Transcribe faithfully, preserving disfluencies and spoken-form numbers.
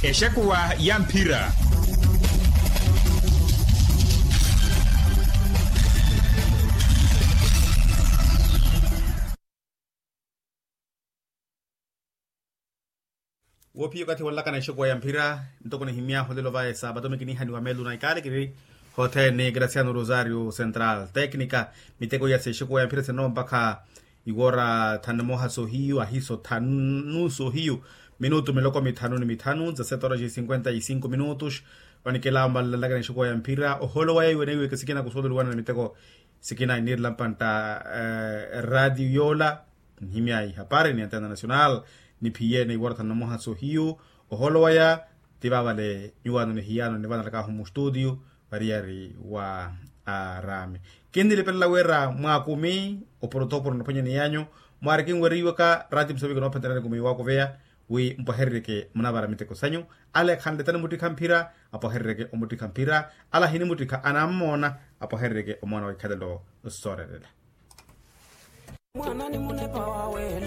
Exekuwa ya mphira. Woopiya okathi wanlakana exekuwa ya mphira. Ntoko nihimy'ahu lelo vaye sabato mikiniha ni wamelu na ikaalikiri hothene graciano rosario central tecnica. Miteko ya sexekuwa ya mphira senompakha iwora thanu na moha sohiyu ahiso thanu sohiyu minutu miloko mithanu ni mithanu dezasete horas e cinquenta e cinco minutos. Vanikela mbalalakana exekuwa ya mphira oholo waya iwe neiweke sikina kusololiwana na miteko sikina iniirela mpantta. Radiyo yoola nihimya ihapari ni antena nacional niphiye neiwora thanu na moha sohiyu. Oholo waya ti vavale nyuwano nihiyano nivanalakahu mustutiyo variyari wa arami. Kinnilipelela wira mwakumi oporotoporo naphwanyani yanyu mwari kinweriwaka rati museviki noophenterani kumi wakuveya wi mpwahereryeke munavara miteko sanyu. Ala ekhanletani muttikha mphira apwahereryeke omuttikha mphira. Ala ahinimuttikha anammoona apwahereryeke omoona wa ikhalelo. Soorelela. Mwana ni munepa wawe.